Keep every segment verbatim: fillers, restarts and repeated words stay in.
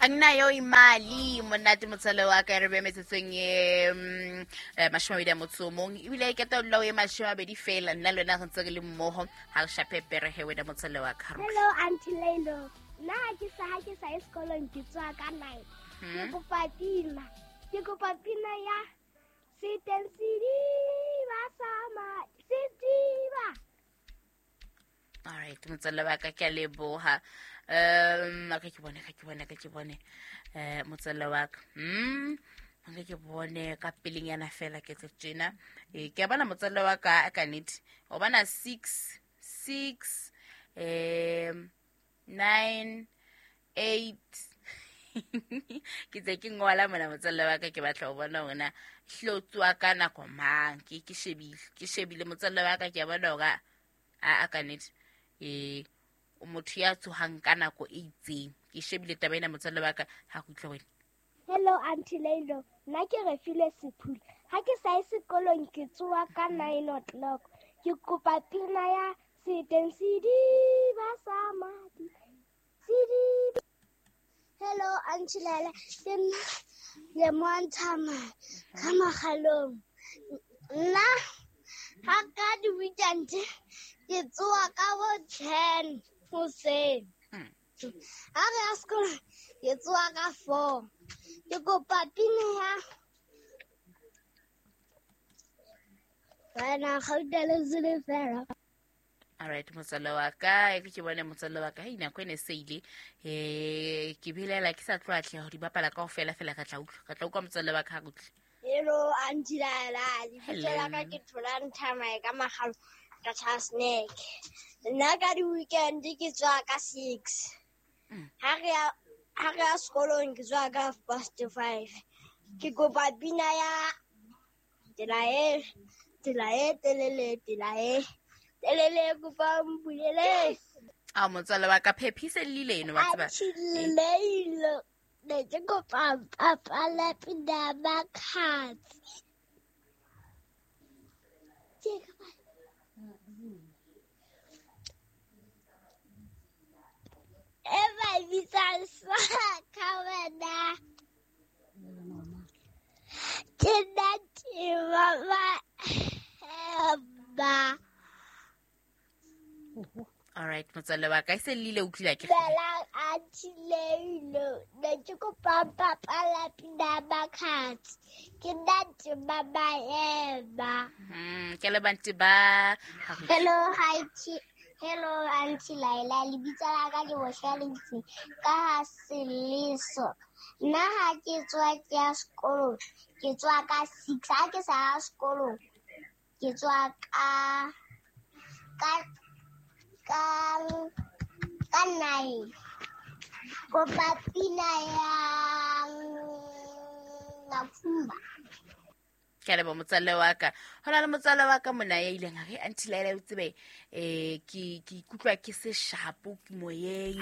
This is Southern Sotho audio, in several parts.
Anginayo imali monate motswalle wa ka re be metsotsong e mm, eh, mashome a mabedi a motso o mong ebile ke taolo e mashome a mabedi fela nna le wena re ntse re le mmoho ha re shape pere he wena motswalle wa ka. Hello Auntie Lelo. Nna ha ke sa ha ke sa ye sekolong ke tswa ka nine. Ke kopa pina. Ke kopa pina ya Seteng sediba sa ma sediba. All right, motswalle wa ka ke a leboha. Um ka ke bone ka ke bone ka ke bone eh motswalle wa ka. Mm ka ke bone ka pelenyana fela ke tse tjena. Eh ke a bona motswalle wa ka ka nnete. O bona six six um nine eight ke tse ke ngola mona motswalle wa ka ke batla ho bona hore na hlo tswa ka nako mang. Ke ke shebile ke shebile motswalle wa ka ke a bona hore a a ka nnete eh o motho ya tsohang ka nako e itseng. Ke shebile taba ena motswalle wa ka ha go utlwa wena. Hello Auntie Lelo. Nna ke Refilwe Sephula. Ha ke sa ye sekolong ke tsoha ka nine o'clock. Ke kopa pina ya Seteng sediba sa madi. Sediba. Hello Auntie Lela. Ke nna Lemontshama ka Makgalong. Nna ha ka di-weekend ke tsoha ka bo ten hoseng. Ha re ya sekolong ke tsoha ka four. Ke kopa pina ya Wena gauta le silifera. All right, motswalle wa ka e ke bone motswalle wa ka hei nako ene se ile eh ke belaela ke sa tlo atleha ho di bapala kaofela fela ka tla utlwa ka tla utlwa motswalle wa ka ha utlwe. Hello Auntie Lela, lebitso la ka ke Tholang Thamae ka Makgalo ka Charles Nek. Nna ka di-weekend ke tswa ka six. Ha re ya ha re ya sekolong ke tswa ka half past five. Ke kopa pina ya tsela e tsela e telele tsela e telele kopa mpulele. A motswalle wa ka phephise lile eno wa tseba. Auntie Lelo, ne ke kopa bapala pina ya Makhadzi. E ba bitsang sa wena. Ke nna Tima ba. All right, motswalle wa ka e se lile o utlwile ke. Bela Auntie Lelo, ne ke kopa bapala pina ya Makhadzi. Ke nna Tima Maema. Mm ke le bantu ba. Hello hi Hello Auntie Laila, lebitso la ka ke Bohlalefi ka ha Seleso. Nna ha ke tswa ke ya sekolong, ke tswa ka six. Ha ke sa ya sekolong, ke tswa ka ka ka ka nine. Kopa pina ya Nafumba. Ke a leboha motswalle wa ka. Ho na le motswalle wa ka mona ya ileng a re Auntie Laila o tsebe eh ke ke ikutlwa ke se shapo ke moyeng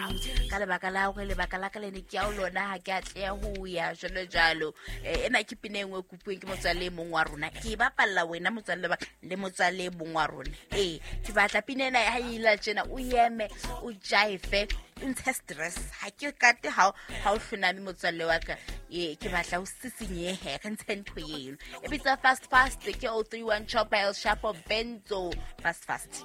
ka lebaka la hore lebaka la ka le ne ke ya ho lona ha ke atleha ho ya jwalo jwalo. Eh ena ke pina e nngwe e kopuweng ke motswalle e mong wa rona. Ke e bapalla wena motswalle wa le motswalle e mong wa rona. Eh ke batla pina ena ha e ila tjena o eme o jive o ntshe stress. Ha ke kate ha ha o hloname motswalle wa ka. Eh ke batla o sisinyehe re ntshe ntho eno. E bitsa fast fast ke oh three one Chopper El Chapo Benzo fast fast.